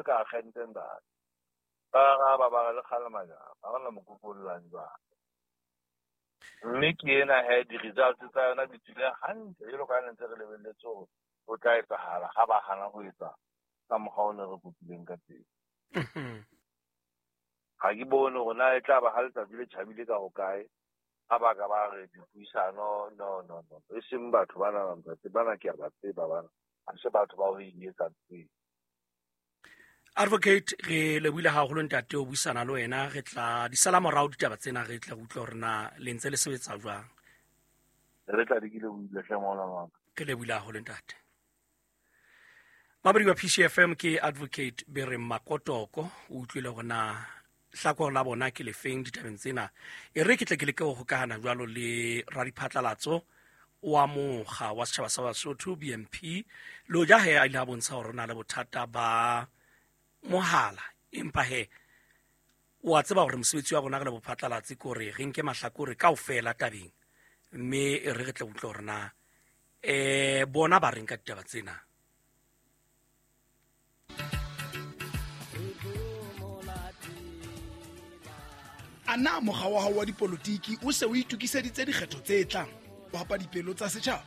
ka agente ntate. Ba araba ba re le kgale majaba, ha re na mokoko o llang jwalo. Mme ke ena he di-results tsa yona di tswile hantle jwalo ka ha ne ntse re lebelletse hore ho tla etsahala ha ba hana ho etsa ka mokgwa o ne re kopileng ka teng. Ga ke bone hore na e tla ba ha letsatsi le tjhabile ka hokae ha ba ka ba re dipuisano. No, no, no, e seng batho bana, ntate bana ke a ba tseba bana, ha se batho ba ho e etsa ntho eo. Advocate, re lebohile haholo ntate o buisana le wena. Re tla di sala morao ditaba tsena, re tla utlwa hore na le ntse le sebetsa jwang. Re tla di ke lebohile hle ngwana wa ka. Re lebohile haholo ntate. Mamedi wa PCFM ke Advocate Bereng Makotoko, o utlwile hore na hlakore la bona ke lefeng ditabeng tsena. E re ke tle ke leke ho hokahana jwalo le radiphatlalatso wa mokga wa setjhaba sa Basotho BNP, le hoja he a ile a bontsha hore o na le bothata ba mohala, empa he o a tseba hore mosebetsi wa rona re le bophatlalatsi ke hore re nke mahlakore kaofela tabeng, mme e re re tle utlwe hore na bona ba reng ka ditaba tsena. A na mokga wa hao wa dipolotiki o se o itokiseditse dikgetho tse tlang ho hapa dipelo tsa setjhaba?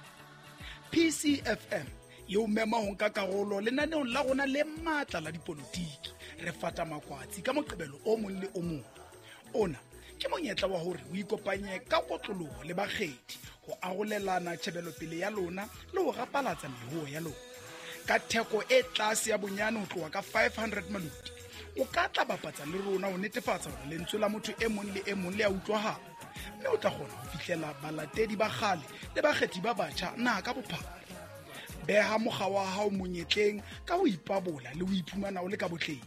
PCFM e o mema ho nka karolo lenaneong la rona le matla la dipolotiki. Re fata makwatsi ka Moqebelo o mong le o mong. Ona ke monyetla wa hore o ikopanye ka kotloloho le bakgethi ho arolelana tjhebelopele ya lona le ho rapalatsa mehoho ya lona. Ka theko e tlase ya bonyane ho tloha ka 500 maluti, o ka tla bapatsa le rona ho netefatsa hore lentswe la motho e mong le e mong le a utlwahala, mme o tla kgona ho fihlela balatedi ba kgale le bakgethi ba batjha naha ka bophara. Beha mokga wa hao monyetleng ka ho ipabola le ho iphumana o le ka botleng.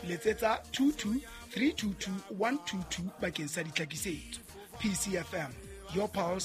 Letsetsa 22 322 122 bakeng sa ditlhakisetso. PCFM, your pulse.